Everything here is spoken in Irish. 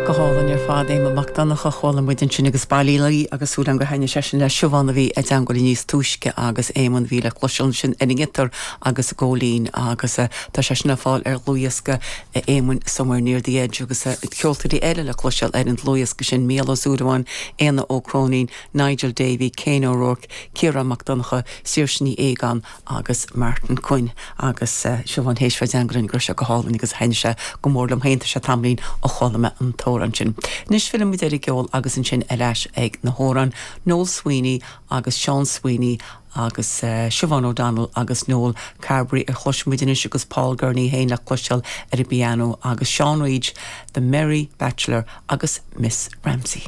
Go hálainn ar fad, Éamonn Mac Donncha, chuala muid ansin agus Baile Uí agus súil agam gur thaitnigh sé sin le Siobhán a bhí i dteangmháil linn níos túisce agus Éamonn a bhí le cloisteáil ansin ar an ngiotár agus an góilín agus tá sé sin le fáil ar dhlúthdhiosca Éamoinn Somewhere Near the Edge agus ceoltóirí eile le cloisteáil ar an dlúthdhiosca sin, Mícheál Ó Súilleabháin, Éanna Ó Cróinín, Nigel Davey, Kane O'Rourke, Ciarán Mac Donncha, Saoirse Ní Aogáin agus Martin Quinn agus Siobhán théis bheith i dteangmháil linn go raibh sé go hálainn agus thaitnigh sé go mór liom féin, tá sé tamaillín ó chuala mé an t-amhrán sin. Anois filleann muid ar an gceol agus ansin ar ais ag na hamhráin, Noel Sweeney agus Seán Sweeney agus Siobhán O'Donnell agus Noel Carberry a chloisfidh muid anois agus Paul Gurney féin le cloisteáil ar an bpianó agus Seán Reid, The Merry Bachelor agus Miss Ramsey.